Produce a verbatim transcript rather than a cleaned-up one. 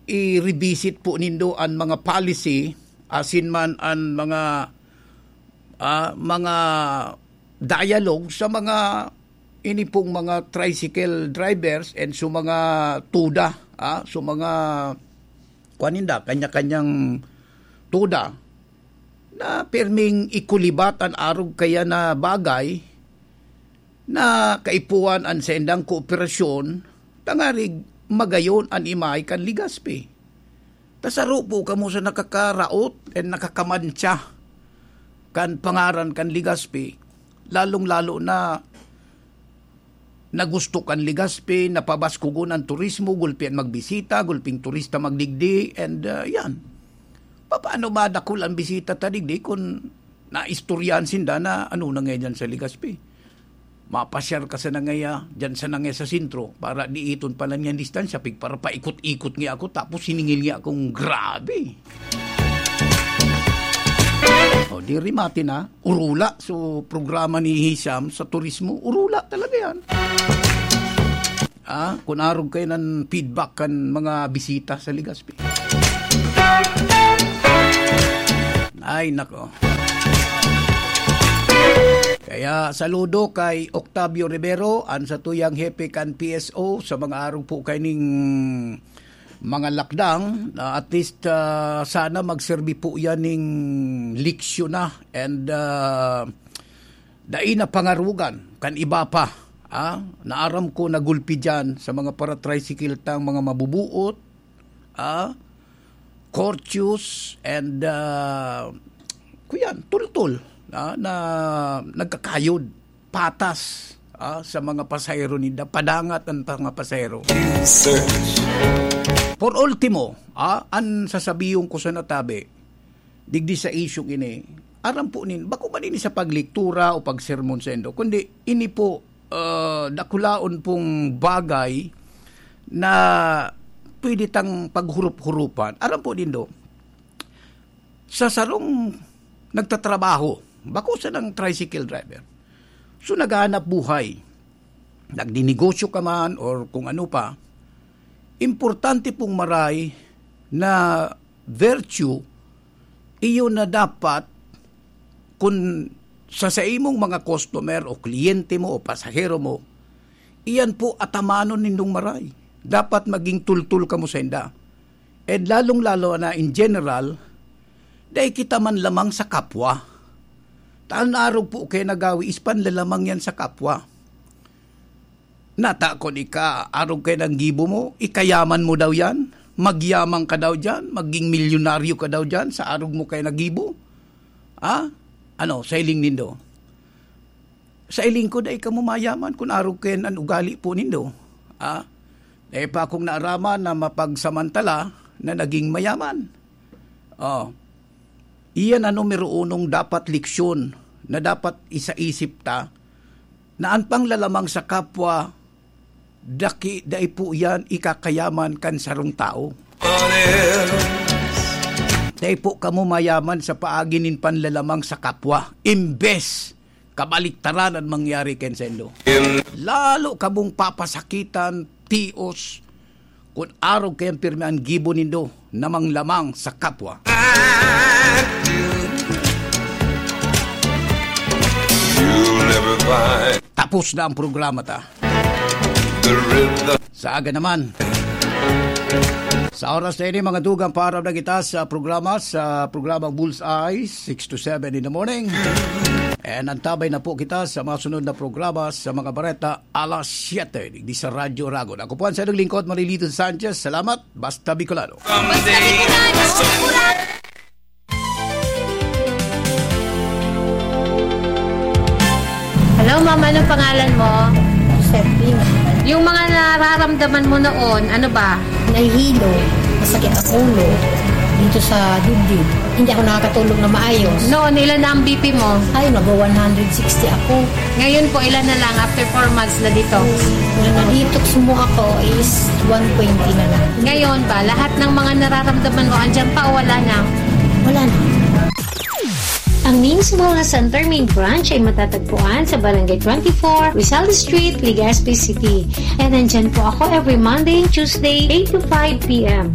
i-revisit po nindo an mga policy, asin man an mga, ah, mga dialogue sa mga, ini pong mga tricycle drivers and sa mga tuda, ah, sa mga, kuwan ninda, kanya-kanyang tuda na pirming ikulibat an arog kaya na bagay na kaipuhan an saindang kooperasyon, tangarig magayon an imahe kan Legazpi. Ta saro po kamo sa nakakaraot and nakakamantsa kan pangaran kan Legazpi, lalong-lalo na na gusto kan Legazpi, napabaskogon an turismo, gulpi an magbisita, gulping turista magdigdi, and, ah, yan. Papaano ba dakul ang bisita ta digdi kun naistoryahan sinda na ano na nga diyan sa Legazpi? Mapasyar ka sa nangaya, diyan sa nangaya sa sentro, para diiton pa lang yan distansya, pigparapaikot-ikot nga ako, tapos siningil nga akong grabe. O, di rimate na. Urula. So, programa ni Hisham sa turismo, urula talaga yan. Ah, kung arog kayo ng feedback kan mga bisita sa Legazpi. Ay, nako. Kaya saludo kay Octavio Rivero, an satuyang hepe kan P S O, sa mga arog po kaining mga lakdang, na at least, ah, sana magserbi po yan ning leksyon na and, ah, dai na pangarugan kan iba pa, ah. Naaram ko nagulpi diyan sa mga para-tricycle tang mga mabubuot, ah, courteous and, ah, kuyan, tultol, ah, na nagkakayod patas, ah, sa mga pasahero ninda, padangat ang mga pasahero. Search. Por ultimo, ah, an sasabiyon ko sa natabi, digdi sa isyung ini, aram po nin, bako man ini sa paglektura o pagsermon sa indo, kundi ini po, ah, dakulaon pong bagay na pwede tang paghurup-hurupan. Aram po nindo, sa sarong nagtatrabaho, bako sanang tricycle driver. So, naghahanap buhay, nagninegosyo ka man or kung ano pa, importante pong maray na virtue, iyo na dapat, kun sa saimong mga customer o kliyente mo o pasahero mo, iyan po atamanon nindong maray. Dapat maging tultol kamo sainda. And lalong-lalo na in general, dai kita manlamang sa kapwa. Ta an arog po kaya nagawi is panlalamang yan sa kapwa. Nata kun ika arog kaya nang gibo mo, ikayaman mo daw yan? Magyaman ka daw diyan? Maging milyonaryo ka daw diyan sa arog mo kaya nagibo? Ha? Ano, sa hiling nindo? Sa hiling ko, dai kamo mayaman kun arog kaya an ugali po nindo. Ha? Dai pa akong naaraman na mapagsamantala na naging mayaman. Oh. Iyan an numero unong dapat leksyon na dapat isaisip ta, na an panglalamang sa kapwa, daki, dai po iyan ikakayaman kan sarong tawo. Dai po kamo mayaman sa paagi nin panlalamang sa kapwa. Imbes, kabaliktaran an mangyari kan saindo. Lalo kamong papasakitan, tios, kun arog kayang pirmi an gibo nindo na manglamang sa kapwa. You'll never find Tapos na ang programa ta. The rhythm. Sa aga naman. Sa oras na ini, mga dugang, paaram na kita sa programa, sa programang Bullseye, six to seven in the morning. And antabay na po kita sa mga sunod na programa sa mga bareta, alas siyete, digdi sa Radyo Ragon. Ako po ang sadyang lingkod, Marilito Sanchez. Salamat, basta Bicolano. Basta Bicolano. Hello, ma'am. Anong pangalan mo? Josephine. Yung mga nararamdaman mo noon, ano ba? Nahihilo. Masakit ang ulo. Dito sa dibdib. Hindi ako nakakatulog na maayos. Noon, ilan na ang B P mo? Ay, nag-one hundred sixty ako. Ngayon po, ilan na lang after four months na detox? Nung na-detox mo ako is one twenty na lang. Ngayon ba, lahat ng mga nararamdaman mo, andyan pa o wala na? Wala na. Ang Names Wellness Center main branch ay matatagpuan sa Barangay twenty-four, Rizal Street, Legazpi City. And nandyan po ako every Monday and Tuesday, eight to five p m.